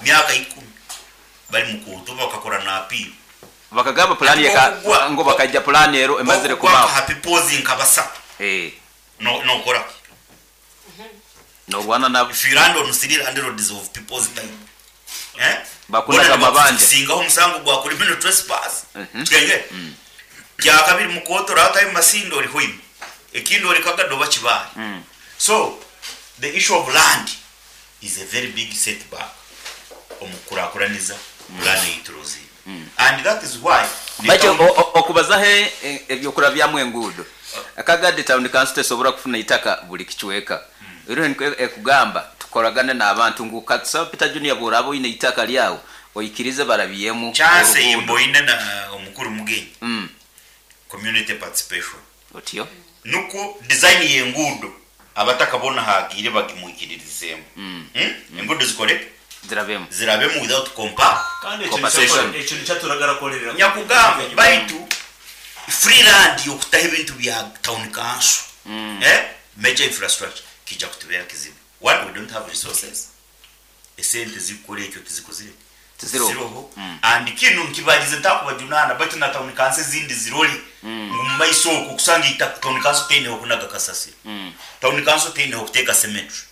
Myaka 10 bari mu kutuba bakakora na appeal. Bakagamba plan ya Okugwa. ngo bakajja plan ero emazire Okugwa kubaho. ha Peoples nkabasa. No, no kora. No rwana na If you land on city land roads of Peoples time. Bakunda Bona amabanja. Singaho omusango gwa criminal trespass. Twenge. Kya kabiri mukoto rata masindo ori hoima. Ekindi ori Kagado bakibaye. So the issue of land is a very big setback omukurakuraniza plan eyituruzi. And that is why the Bacho town okubaza he ebyokura byamwe enguudo. Kagadi town council tesobora kufuna itaka buli kichweka. Ero ekugamba tukoragane n'abantu ngu katsaba Peter Junior borabo ine itaka lyawo oyikirize barabiyemu. Chance oruguudo. imboine na omukuru mugenyi. Community participation. Otyo. Nuko design y'enguudo abatakabona hagire bagimwikiririzemu. Enguudo zikore zirabemu. Zirabemu without compa. Kandi ekyo compensation. ekyo nikyaturagara korera. Nyakugamba baitu free land yokutaha ebintu bya town council. Major infrastructure kija kutubera kizibu. One, we don't have resources. Esente zikore ekyo tizikozire. Tiziroho. Tiziroho. And kinu nkibalize ntakubajunana baitu na town council zindi ziroli. Mu maiso okwo kusanga ita town council tene okunaga kasasiro. Town council tene okuteka cemetery.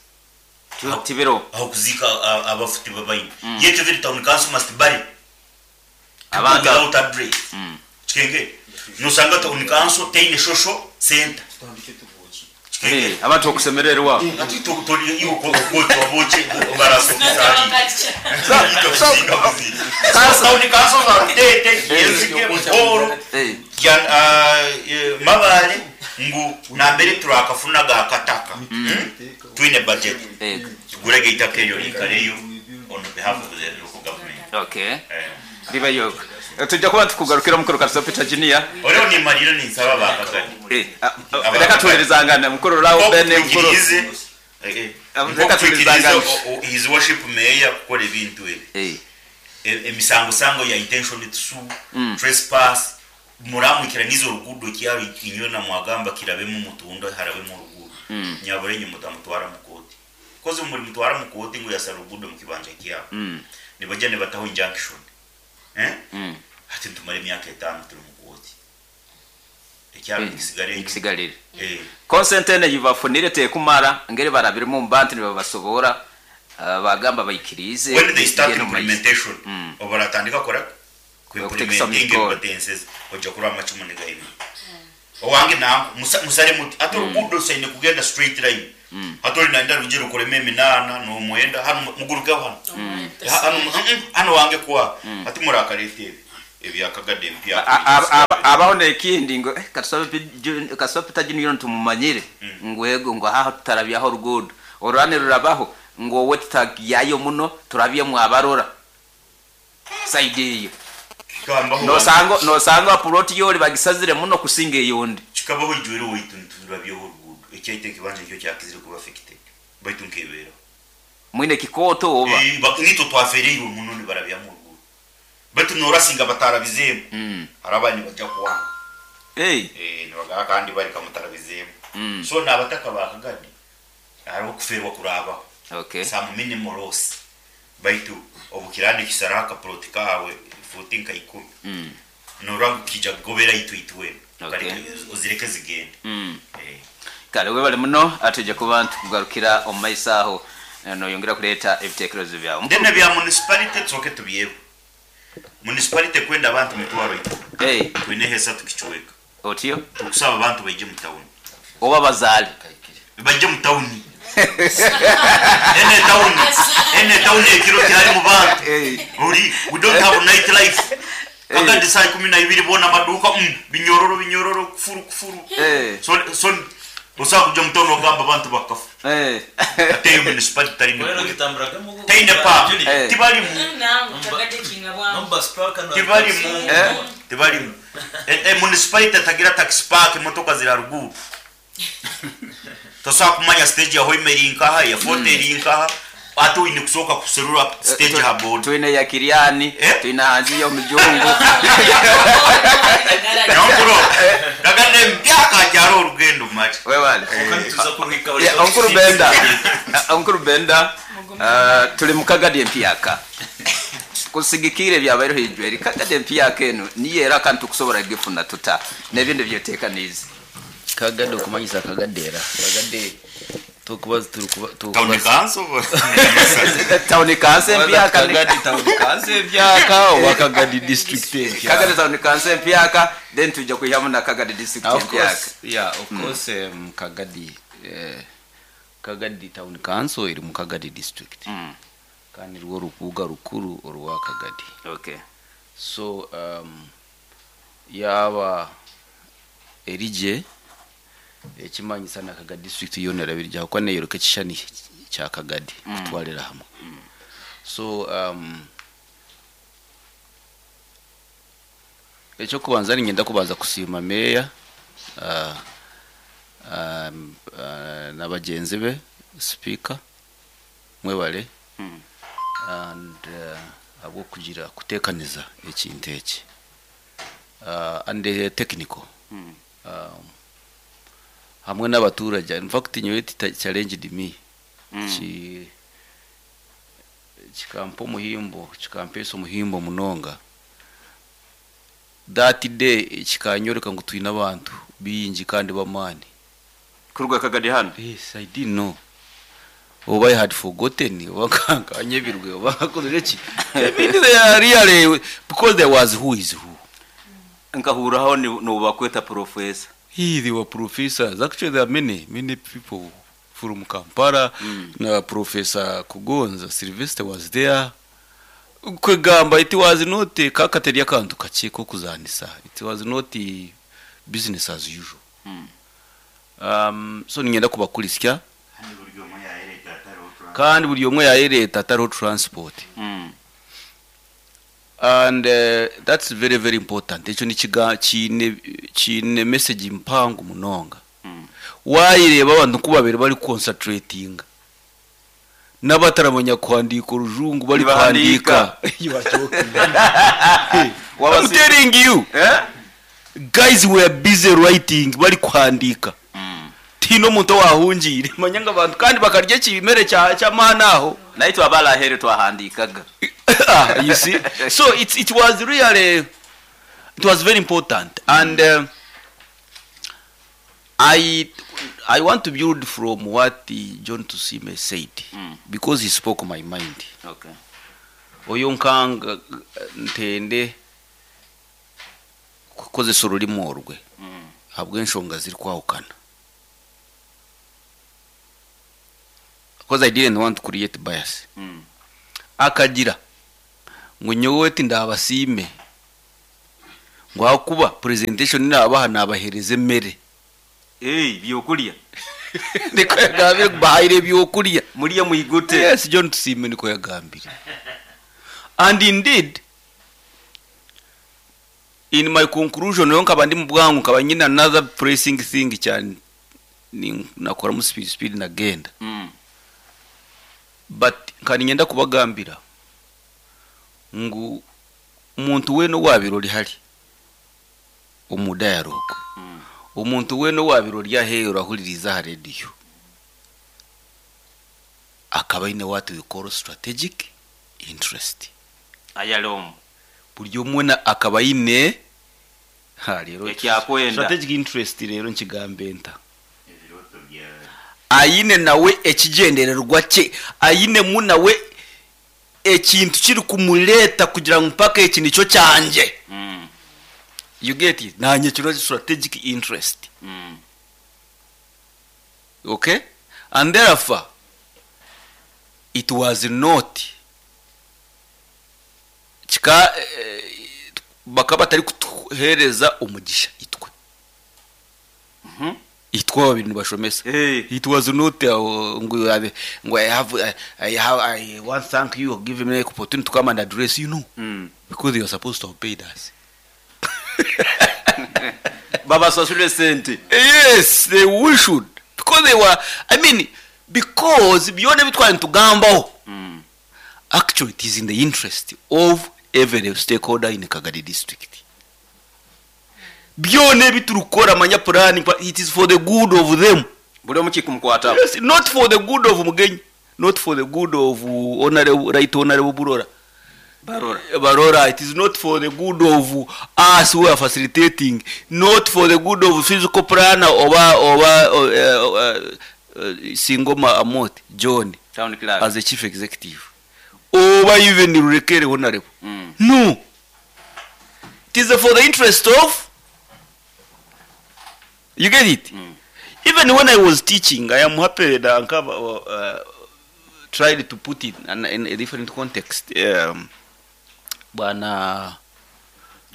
Tibiro. Aho kuzika abafuti babaine. Yet every town council must bury. Abantu without address. Kikenge. Nusanga town council tene social center. Hey, abantu okusemererwa. Ati to to iyo ko ko to boche baraso kusali. So, town council za Rutete, Yezike, Buhoro, Mabale ngu nambere turakafunaga akataka. Twine budget. Tugurege itaka eryo rikareyo on behalf of the local government. Riba yo. Tujja kuba tukugarukira mukuru Katsaba Peter Junior. Olio ni maliro ni nsaba bakagari. Reka tuherezangana mukuru Rawo Bene mukuru. Reka tuherezangana. His worship mayor kukora ebintu ebi. Emisango sango ya intention to sue, trespass, muramukira nizo rugudo kyaro inywe na mwagamba kirabemu mutundo harabemu rugudo. Nyabure nyu mutamutwara mukoti. Kozi muri mutwara mukoti ngo yasa rugudo mu kibanja kyabo. Nibaje ne bataho injunction. Ati tumare imyaka 5 turi mukoti. Ekyaro nikisigara enyima. Nikisigarire. Eh. Consent enu ei bafunire tekumara ngeri barabiremu omu bantu nibabasoboora bagamba baikiriize When they start bigende omu maiso. implementation, obu baratandika kukora ki? Okuteekesa omu Ku-implementinga bikoro. ebibatenseze, oija kurora amacumu nigaimura. Owange nanka, musare muti, hati oruguudo rusaine kugenda straight line. Hati ori nayenda rwije rukoremu eminaana n'omwenda, hanu mugurukeho hanu. Hanu, hanu owange kuha. Hati murakareeta ebi ebya Kagadi empya. Abaho n'ekindi ngu eh, Katusabe Peter Junior nitumumanyire ngu ego ngu haha tutarabyaho oruguudo oruraba nirurabaho ngu owe tutagyayo muno turabyemu abarora side eyo. Kikabaho Nosanga nosanga plot yori bagisazire muno kusinga eyondi. Kikabaho ijwire owaitu niturabyaho oruguudo ekyaitu ekibanja nikyo kyakizire kuba affected baitu nkebeeraho. Mwine kikooto oba? Nitwe twafeereirwe muno nibarabyamu oruguudo baitu norasinga batarabizeemu hariho abandi nibaija kuwanga. Nibagamba kandi bari kamutarabizeemu so nabataka ba Kagadi hariho okufeerwa kuraabaho some minimal loss baitu obu kiraaba nikisaraho akaplot kaawe fuuti nka ikumi norora ngu kiija kugobera itwe itwena ozireke zigende. Kare webale muno twija kuba nitukugarukira omu maiso aho noyongera kureeta ebitekerezo byawe. Then ebya municipality tusooke tubyebwe. Municipality ekwenda abantu mitwaro ikumi, twineho esatu kicweka. Otyo? Tukusaba abantu baije mu tawuni. Oba bazaale? Baije mu tawuni. Enu etawuni, enu etawuni ekiro tiharimu bantu. Ori, we don't have night life. Kagandi saaha 12 boona amaduuka mm binyororo binyororo kufuru kufuru. So so osobola kuja omu tawuni ogamba abantu bakafa. Hati eyo municipality tarimu ekureka. Teine park, tibarimu. Tibarimu, tibarimu. Municipality etagira taxi park emotoka ziri aharuguru. Tosobola kumanya stage ya Hoima eri nkaha, eya Fort eri nkaha, hati oine kusooka kuserura stage aha boda. Twine eya Kiriani, twine ahansi y'omujungu. Nyonkuro, kagande empyaka hakyariho orugendo mali. Webale. Omukuru Benda, Omukuru Benda, turi mu Kagadi empyaka. Kusigikiira ebyabaireho ijweri, Kagadi empyaka enu niyo era kandi tukusobora kugifuna tuta n'ebindi ebyoteekaniize? Kagadi okumanyisa Kagadera. Kagadi tokuba turikuba Town council Town council empyaka. Kagadi town council empyaka oba Kagadi district empyaka. Kagadi town council empyaka then twija kwihamu na Kagadi district Of empyaka. course, yeah, of course Kagadi Kagadi town council eri mu Kagadi district. Kandi nirwo rubuga rukuru orwa Kagadi. Okay. So yaaba eri gye ekimanyisa na Kagadi district yoona eraba eri gye ahabw'okuba neeyoreka ekishushani kya Kagadi kutwarira hamwe. So eky'okubanza niinyenda kubanza kusiima meeya na bagyenzi be, sipiika mwebare and ahabw'okugira kuteekaniza ekintu eki and the technical hamwe n'abaturage. In fact nyowe it challenged me ki kikampa omuhimbo kikampeesa omuhimbo munonga. That day kikanyoreka ngu twine abantu baingi kandi b'amaani. Kuruga Kagadi hanu? Yes, I didn't know. Oba I had forgotten, oba nkanyebirwe, oba nkakozire ki. I mean, they are really, because there was who is who. Nkahurraho nobu bakweta professor. He, they were professors. Actually, there are many, many people from Kampala. Na Professor Kugonza Sylvester was there. Kwegamba it was not kakateri akantu kakye ko kuzanisa. It was not business as usual. So ningenda kubakurisya kandi buri omwe yayereta atariho transport. And that's very very important. Ekyo nikiga kiine kiine message mpango munonga. Wayireeba abantu ku babiri bari concentratinga n'abataramanya kuhandiika orujungu bari kuhandiika. You are joking. I'm telling you. Guys were busy writing bari kuhandiika. Tihaine omuntu owahungiire manya ngu abantu kandi bakarya ekimere ky'amaani aho. Naitwe abari aheeru twahandiikaga. You see, so it was really, it was very important and I, I want to build from what John Tusime said because he spoke my mind. Okay. Oyo nkanga ntende kukozesa orurimi orwe ahabw'enshonga zirikwahukana. Because I didn't want to create bias. Akagira ngu nyowe tindabasiime ngu ahakuba presentation nabaha nabahereza emere. Hey, byokulya. Niko yagambire ngu bahaire ebyokurya. Murye mwigute. Yes, John Tusiime niko yagambire. And indeed, in my conclusion, nyowe nkaba ndi mu bwangu, nkaba nyine another pressing thing cyane nakoramu speed speed nagenda. But nkaba niinyenda kubagambira ngu omuntu weena owaabaire ori hari omu dialogue, omuntu weena owaabaire ori aheeru ahuririize aha rediyo, akaba aine what we call strategic interest. Ayari omu. Buri omwe na akaba aine ha reero Eki akwenda. Strategic interest reero nkigambe nta? Aine nawe ekigyendererwa kye, ainemu nawe ekintu kirikumureeta kugira ngu mpaka eki nikyo kyangye. You get it? Naanye kino strategic interest. Okay? And therefore, it was not kika bakaba batarikutuheereza omugisha itwe. Itwe ababiri nibashomesa. It was not ngu ngu I have, I have, I want thank you give me opportunity to come and address you. No. Because they were supposed to have paid us. Babasasule sente. Yes, they we should. Because they were, I mean, because byona ebitwari nitugambaho. Actually, it is in the interest of every stakeholder in Kagadi district. Byona ebiturikukora manya planning, but it is for the good of them. Buri omwe kikumukwataho. Yes, not for the good of Mugenyi, not for the good of Honorable, Right Honorable Burora. Barora. Barora, it is not for the good of us who are facilitating, not for the good of physical planner oba, oba, Singoma Amot, John, Town clerk. as the chief executive. Oba even Rurekere Honorable. No. It is for the interest of, you get it? Even when I was teaching, I am happy that Ankaba tried to put it in a different context. Bwana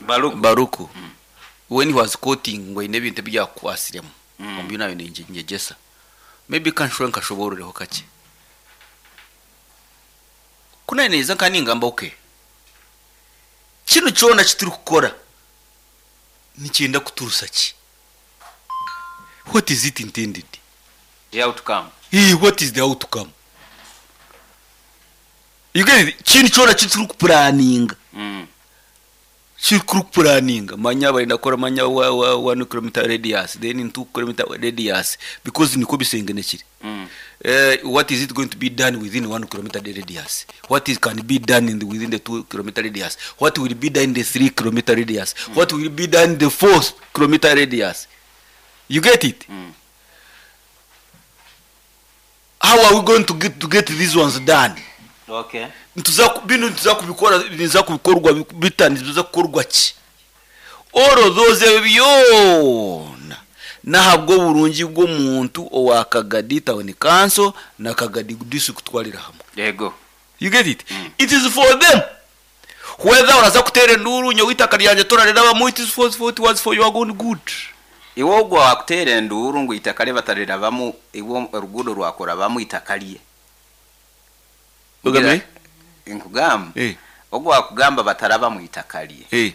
Baruku. Baruku. When he was quoting ngo ine bintu byakwasiremu. Ombi nayo ni njegesa. Maybe kanshwe nkashobororeho kake. Kuna neza kandi ngamba okay. Kino kyona kituri kukora nikyenda kuturusa ki? What is it intended? The outcome. Hey, what is the outcome? You get it? Kino kyona kituri kuplanninga. Kiri kuplanninga. Manya bari ndakora manya wa 1 kilometer radius, then 2 kilometer radius, because niko bisengenekire. What is it going to be done within 1 kilometer radius? What is can be done in the, within the 2 kilometer radius? What will be done in the 3 kilometer radius? What will be done in the 4 kilometer radius? You get it? How are we going to get these ones done? Okay. Bino nituza kubikora, niza kubikorwa bita, niza kukorwa ki? All of those byona nahabwo burungi bw'omuntu owa Kagadi Town Council na Kagadi District kutwarira hamwe. Yego. You get it? It is for them. Whether uraza kutera enduru nyowe itaka ryanje torarirabamu, it is for, for, it was for your own good. Iwe ogwo wakutera enduru ngu itaka rye batarirabamu, iwe oruguudo rwakorabamu itaka rye. Ogambe? Nkugamba. Ogwo wakugamba batarabamu itaka rye.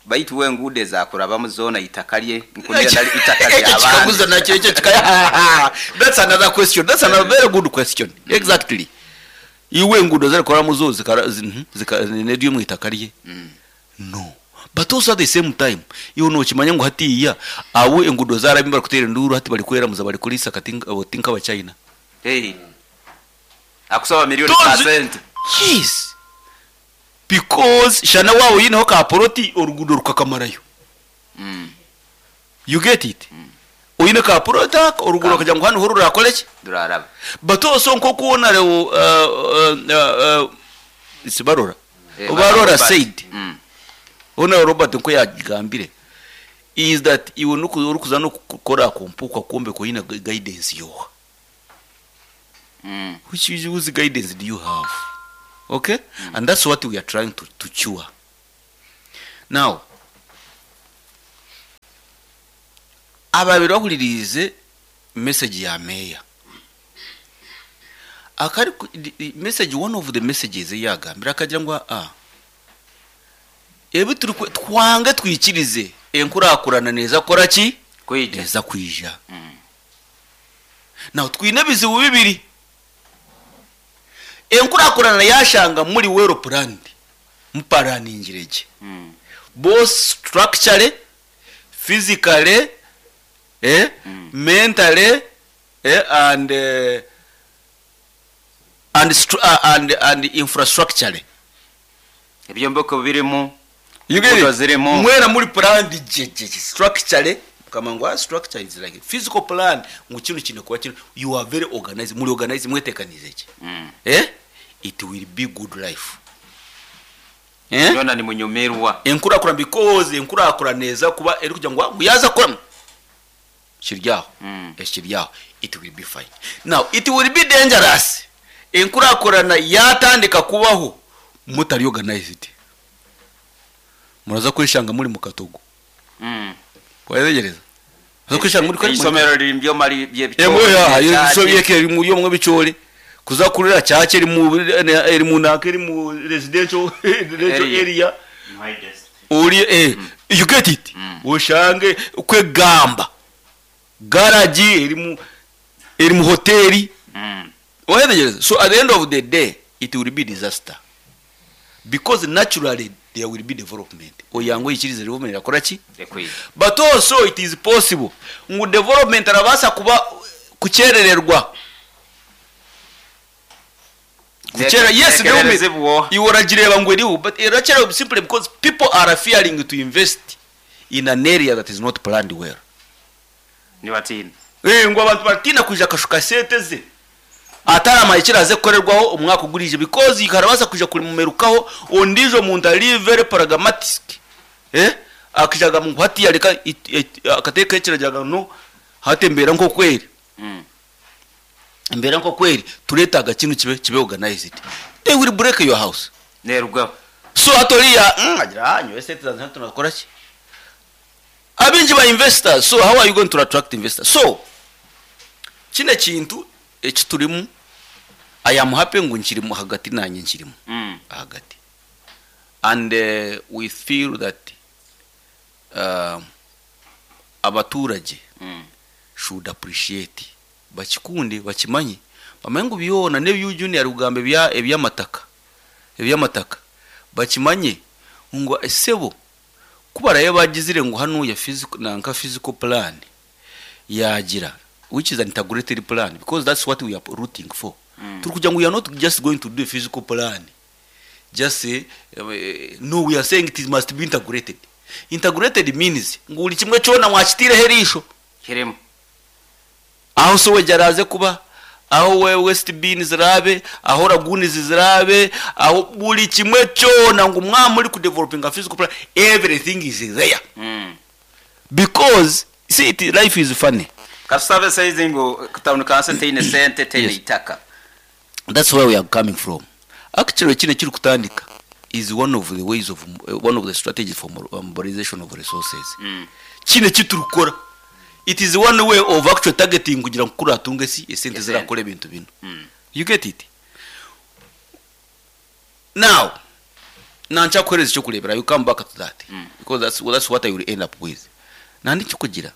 Baitu we enguudo ezakurabamu zoona itaka rye, nkunira nari itaka Ekyo ry'abandi. kikaguzo nakyo, ekyo kika- That's another question. That's another very good question. Exactly. Iwe enguudo zarikoramu zo zika, neryo mu itaka rye. No. But also at the same time, iwe nokimanya ngu hatiya abo enguudo zarabimba bari kutera enduru hati bari kweramuza bari kurisa kati abo tinka aba China. Hey. Akusaba milioni Tozi- percent. Yes. Because shana wawe yineho ka poroti oruguudo rukakamarayo. You get it? Oine ka plot aka oruguru Ka- okagira ngu hanu ho rurakore ki? Ruraraba. But also nk'oku Honourable it's Barora Eh, Barora Robert. said, Honourable Robert nko yagambire is that iwe nuku orikuza n'okukora akompuka kwombeka oine guidance yoha. Which is whose guidance do you have? Okay? And that's what we are trying to cure. Now, ababiri bahuririize message ya meya. Akari ku- the- the message one of the messages eyagambire akagira ngu ah ebi turi kwe- twange twikirize enkurakurana neza kora ki? Kwija. Neza kwija. Now twine ebizibu bibiri. Enkurakurana yashanga muri well planned. Muparaningire gye. Both structurally, physically, mentally, and infrastructurally. Ebyombeko birimu. You get Enguudo it? zirimu. Mwena muri planned gye gye gye structurally. Kama ngu structure is like physical plan ngu kino kino kuba kino you are very organized muri organized mwetekanize gye. It will be good life. Yona ni munyumirwa. Enkurakura because enkurakura neza kuba eri kugira ngu ngu yaza kora kiryaho. Ekiryaho it will be fine. Now it will be dangerous enkurakurana yatandika kubaho mutari organized. Muraza kwishanga muri mu katogo. Wayegereza. Muraza kwishanga muri kwe- Isomero riri mu byoma by'ebicori. Emwe ya By'ekyaki. iso byeke eri mu byomwe bicori. Kuza kurira cyake eri mu eri mu naka eri mu residential Area. area. Uri you get it. Ushange kwegamba. Garage eri mu hoteli. Wayegereza. So at the end of the day it will be disaster. Because naturally there will be development. Oyango ikirize development yakora ki? Ekwiye. But also it is possible ngu development arabasa kuba kucherererwa. Kuchera, yes, Nekerereze development. bwoha. Iwe oragireba ngu eriho, but erachera simply because people are fearing to invest in an area that is not planned well. Nibatina. Ngu abantu baratina kuja akashuka sente ze. Atarama ekiraze kukorerwaho omwaka ogurije because ikarabasa kuja kurimumerukaho ondijo muntu ari very pragmatic. Akijaga mu hati yareka akateka ekirajaga no hatembera nko kweri. Mbera nko kweri turetaga kintu kibe organized. They will break your house. Nerugaho. So atoriya agira anyo ese tuzana tunakora ki? Abinji ba investors, so how are you going to attract investors? So kine kintu ekiturimu I am happy ngu nkirimu hagati nanye nkirimu. Hagati. And we feel that abaturage should appreciate bakikunde bakimanye bamenye ngu byona n'ebyu junior kugambe ebyamataka ebyamataka bakimanye ngo esebo kubaraye bagizire ngu hano ya physical nanka physical plan yagira which is an integrated plan because that's what we are rooting for. Turi kugira ngo we are not just going to do a physical plan just say, no, we are saying it must be integrated. Integrated means ngo buri kimwe cyona mwakitire herisho kirimo aho so wejaraze kuba aho we west bin zirabe aho lagoons zirabe aho buri kimwe cyona ngo mwamuri ku developing a physical plan everything is there. Because see it, life is funny. Kasabe says ngo town council teine sente teine Yes. itaka. That's where we are coming from. Actually kine kiri kutandika is one of the ways of one of the strategies for mobilization of resources. Kine kiturukora it is one way of actually targeting kugira ngo kuratunge si esente Esente. zirakora ibintu bino. You get it? Now nancha kwereza cyo kurebera you come back to that. Because that's what I will end up with. Nandi cyo kugira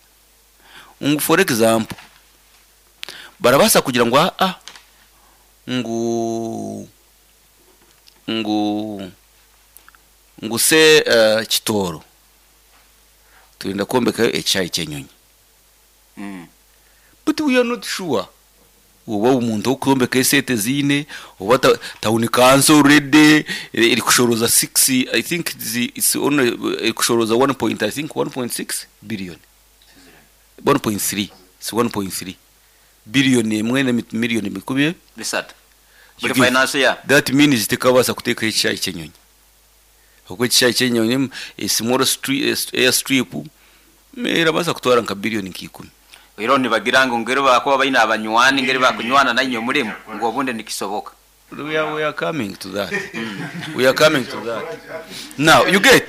ngo for example barabasa kugira ngo a ngo ngo ngo se kitoro turinda kombeka ecyayi cyenyonyi. But we are not sure uba umuntu wo kuyombeka esete zine uba town council already iri kushoroza 6 I think it's only iri kushoroza 1 point I think 1.6 billion. 1.3 si 1.3 billion emwe na miliyoni mikumi 3 buri finance year. That means tekabaasa kuteekaho ekishaayi ky'enyonyi. Okwo ekishaayi ky'enyonyi a small air strip erabaasa kutwara nka billion nka 10. Oihireho nibagira ngu ngeri bakuba baine abanywani ngeri bakunywana nainywe murimu ngu obundi nikisoboka. We are coming to that. We are coming to that. Now, you get.